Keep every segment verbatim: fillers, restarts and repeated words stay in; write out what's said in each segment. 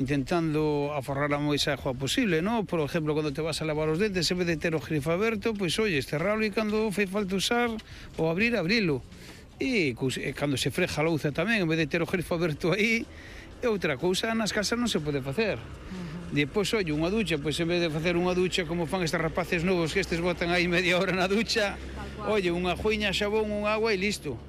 intentando aforrar a máis agua posible, ¿no? Por exemplo, cando te vas a lavar os dentes, en vez de ter o grifo aberto, pois, oye, cerralo e cando fai falta usar ou abrir, abrilo. E cando se freja a louza tamén, en vez de ter o grifo aberto aí, é outra cousa, nas casas non se pode facer. Uh-huh. Depois, oye, unha ducha, pois en vez de facer unha ducha como fan estes rapaces novos que estes botan aí media hora na ducha, oye, unha juiña, xabón, unha agua e listo.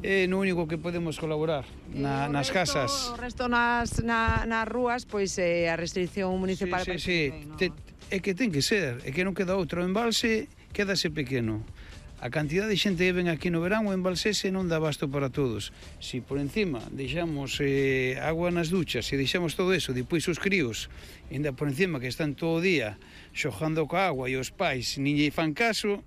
É no único que podemos colaborar na, nas resto, casas. O resto nas, na, nas rúas, pois eh, a restricción municipal... Sí, sí, sí. No? Te, é que ten que ser, é que non queda outro. O embalse quédase pequeno. A cantidad de xente que ven aquí no verán, o embalsese non dá basto para todos. Si por encima deixamos eh, agua nas duchas, se deixamos todo eso, depois os críos, ainda por encima que están todo o día xogando coa agua e os pais nin lle fan caso,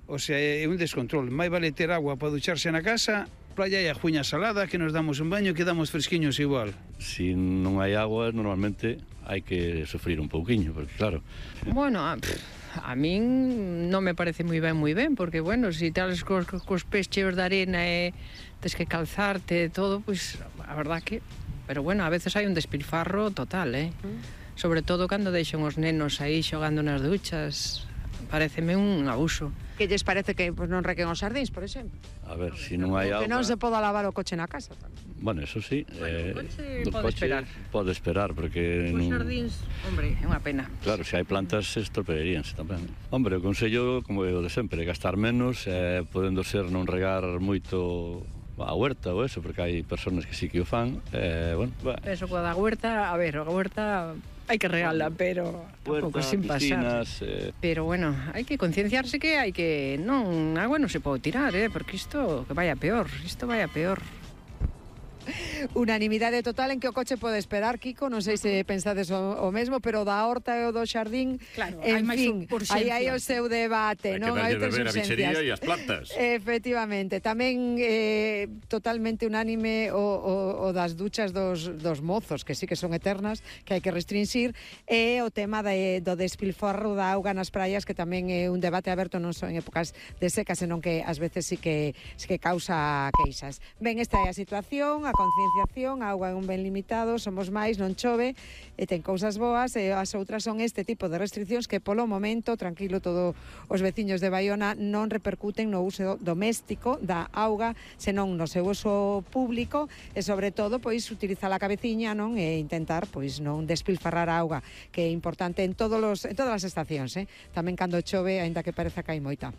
o sea, é un descontrol. Mai vale ter agua para ducharse na casa, playa e a juña salada, que nos damos un baño e quedamos fresquiños igual. Si non hai agua, normalmente hai que sufrir un pouquiño, porque claro... Bueno, a, a min non me parece moi ben, moi ben, porque, bueno, se si tales cos, cos pés cheos de arena e tes que calzarte e todo, pois, pues, a verdad que... Pero, bueno, a veces hai un despilfarro total, eh? Mm. Sobre todo cando deixan os nenos aí xogando nas duchas... Pareceme un abuso. Que lles parece que pues, non requen os sardíns, por exemplo? A ver, se si non hai auga... Que non se poda lavar o coche na casa tamén. Bueno, eso sí. Bueno, eh, o coche pode coche esperar. Pode esperar, porque... Os non... sardíns, hombre, é unha pena. Claro, se hai plantas, estropearíanse tamén. Hombre, o consello, como é o de sempre, gastar menos, eh, podendo ser non regar moito a huerta ou eso, porque hai persoas que sí que o fan. Eh, bueno, eso coa da huerta, a ver, a huerta... Hai que regala, pero tampouco sin pasar. Eh... Pero bueno, hai que concienciarse que hai que... Non, agua non se pode tirar, eh, porque isto que vaya peor, isto vaya peor. Unanimidade total en que o coche pode esperar, Kiko, non sei se pensades o, o mesmo, pero da horta e o do xardín, claro, en hai fin, aí hai o seu debate, hai non? Hai que darlle beber a bichería e as plantas. Efectivamente, tamén eh, totalmente unánime o, o, o das duchas dos, dos mozos, que sí que son eternas, que hai que restringir, e o tema de, do despilforro da auga nas praias, que tamén é un debate aberto non só en épocas de seca, senón que ás veces sí que, sí que causa queixas. Ben, esta é a situación, a concienciación, a auga é un ben limitado, somos máis, non chove, e ten cousas boas, e as outras son este tipo de restriccións que polo momento, tranquilo, todos os veciños de Baiona non repercuten no uso doméstico da auga, senón no seu uso público, e sobre todo, pois, utilizar a cabeciña, non, e intentar, pois, non despilfarrar a auga, que é importante en todos os, en todas as estacións, eh? Tamén cando chove, aínda que pareza que hai moita.